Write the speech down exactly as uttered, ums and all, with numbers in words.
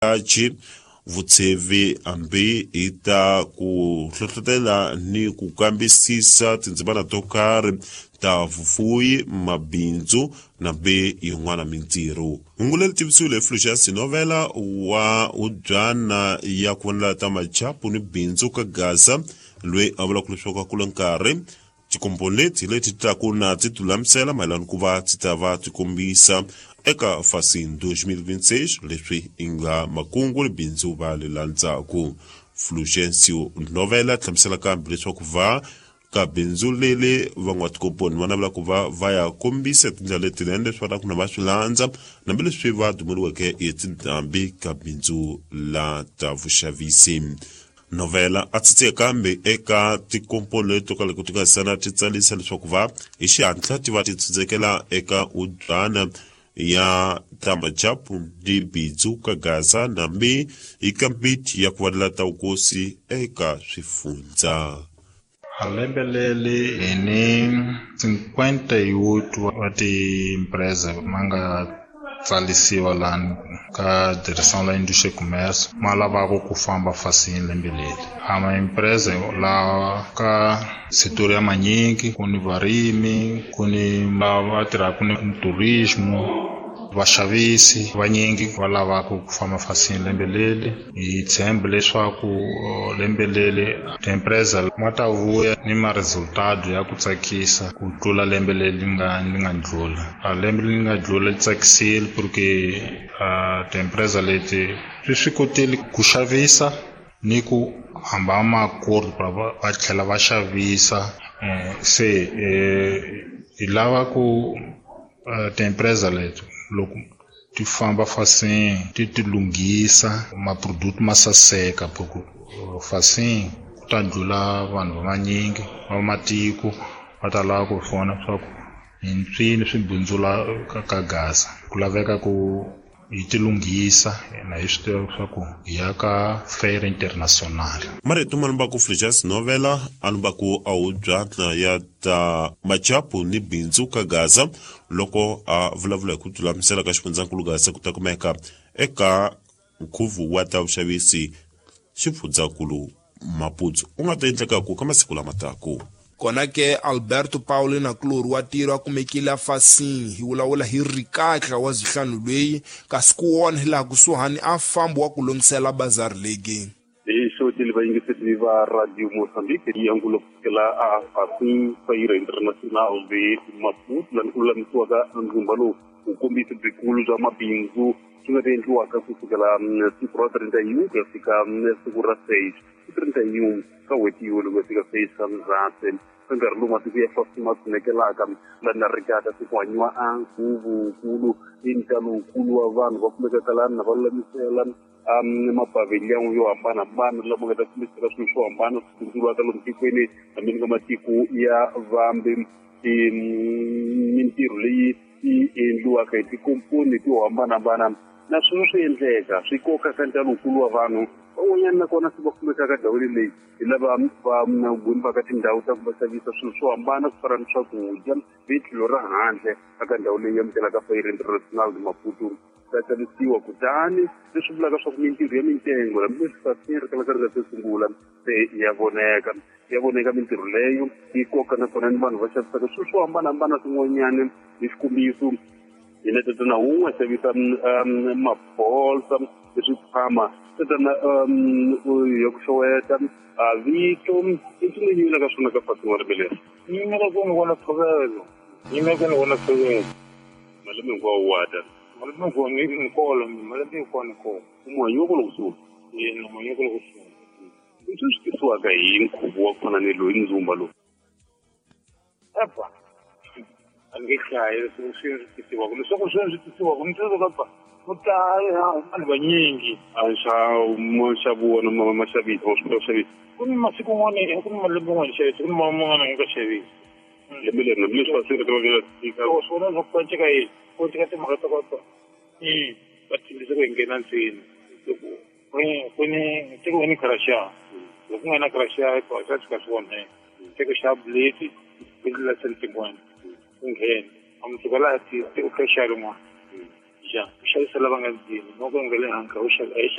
Achi vutsevi hambi hi ta ku hlohlotela ni ku kambisisa tindzimana to karhi ta vufuwi, mabindzu na be yin'wana mintirho. Hungu leri tivisiwile hi Fulgence Novela wa hubyana ya ku vonela ta machapu ni bindzu ka Gaza, loyi a vulaka leswaku a kula nkarhi tikomponi leti leti taku na ti tilulamisela mayelana ku va ti ta va ti kombisa eka Fasin twenty twenty-six leswi i nga makungu ni bindzu va le landzaku. Fulgencio Novela hlamusela kambe leswaku va ka bindzu leli van'watikomponi va navela ku va va ya kombisa tindlela letinene leswi va ku na va swi landza hambileswi va dumeriweke hi tindhambi ka bindzu la ta vuxavisi. Novela a tsitsika kambe eka tikomponi leti to ka loko ti nga sana ti tsalisa leswaku va hi xihatla ti va ti tsindzekela eka ubyana ya tamachapu ni bindzu ka Gaza nambi hi kambiti ya ku vanela ta vukosi eka swifundza. Lembe leri hi ni cinquenta e oito wa ti-empresa ma nga tsalisiwa lani ka Direção la Indústria e Comércio ma lavaka ku famba fasini lembe leri. A ma-empresa lawa ka setor ya manyingi, ku ni varimi, ku ni lava tirhaka ni turismo, vaxavisi vanyingi va lavaka ku famba fasini lembe leri. Hi tshemba leswaku lembe leri ti-empresa ma ta vuya ni ma resultado ya ku tsakisa ku tlula lembe leri nga li nga ndlula. A lembe leri nga ndlula li tsakisile porque ti-empresa leti swi swi kotile ku xavisa ni ku hamba ma-acordo va tlhela va xavisa. Se hi lava ku ti-empresa leti loko ti famba fasini ti ti lunghisa ma-product ma saseka, porque fasini ku ta ndlula vanhu va vanyingi va matiko va ta lava ku vona swa ku hi mpfini swi bindzula ka Gaza. Ku laveka ku hi ti lunghisa na hi swi tiva swa ku hi ya ka fair international. Marito ma lumbaku Fulgence Novela a lumbaku a hubyana ya ta machapu ni bindzu ka Gaza loko a vulavula hi ku tilulamisela ka xifundzankulu Gaza ku ta kumeka eka nkhuvo wa ta vuxavisi xifundzankulu Maputo u nga ta endlekaku ka masiku lama taku. Kona ke Alberto Paulo na kulori wa tiro a kumekile afasini hi vulavula hi rikatla wa zihlanu lweyi kasi ku wona hi laha kusuhani a fambi wa ku lunghisela bazari legi. Hi xotile vayingiseri va Radio Mozambique yi angulo kusukela a Fasin Feira Internacional de Maputo lani ku lulamisiwaka ndzumba lowu wu kombisa byikulu bya mabindzu swi nga ta endliwaka kusukela siku ra treinta e um ku ya fika siku ra seis treinta e um ka n'hweti yolo ku ya fika seis ka Ndzhati. Ka nkarhi lowu matiko ya Fasin ma tsunekelaka lani na rikata se ku hanyiwa a nkhuvunkulu i ntalowukulu wa vanhu va kumekaka lani na va lulamisela mapavhiliyani yo hambanahambana lama nga ta kombisaka swilo swo hambana swi bindzuriwaka lomu tikweni hambi ni ka matiko ya vambe. Mintirho leyi yi endliwaka hi tikomponi to hambanahambana na swona swi endleka swi koka ka ntalowukulu wa vanhu van'wanyana nakona se va kumekaka ndhawini leyi hi lava va gwimbaka tindhawu ta ku va xavisa swilo swo hambana ku fana ni swakudya hi tlhelo ra handle eka ndhawu leyi amukelaka Feira Internacional de Maputo ta xavisiwa. Kutani leswi vulaka swa ku mintirho ya mintengo hambileswi Fasin ri kalaka ri nga se sungula se ya voneka ya voneka mintirho leyo yi koka nakona ni vanhu va xavisaka swilo swo hambanahambana swin'wanyana. Hi xikombiso hina tatana wun'we xavisa mabolsa leswi tshama tatana ya ku xeweta a vito i ncini yi yimela ka swona ka Fasin wa lembe leri? Yimela ku ni vona ntshovelo, yimela ku ni vona ntshovelo. Malembe hinkwawo wa ta? Malembe hinkwawo ni ni kolo, malembe hinkwawo ni kona. Muhanyi wa kona kusuhi? Yena muhanyi wa kona kusuhi. Leswi swi tisiwaka hi nkhuvo wa ku fana ni loyi ndzumba lowu? Epa, a ni nge hlayi leswi swi tisiwaka, leswaku swi swi tisiwaka ni tiva ka ku ta vanhu vanyingi. A nxavo nxavo wona ma ma xavisa wa swi kota ku xavisa? Ku ni masiku n'wana, ku ni malembe n'wana xavisa, ku ni man'wana nga xavisi. Lembe leri hambileswi va swi ri tika swona swa ku cinca yini ku cinca timhaka ta ku i va tshembisa ku hi nghena ndzeni ku ni tiko ni crachá, loko ku nga na crachá swa fika swi onheka tiko xa blade ku ndlela cinquenta ku nghena a mutsuka laha tiko crachá rin'wana. Xa u xavisa lava nga ndzeni no ka nga le handle a wu xavi a yi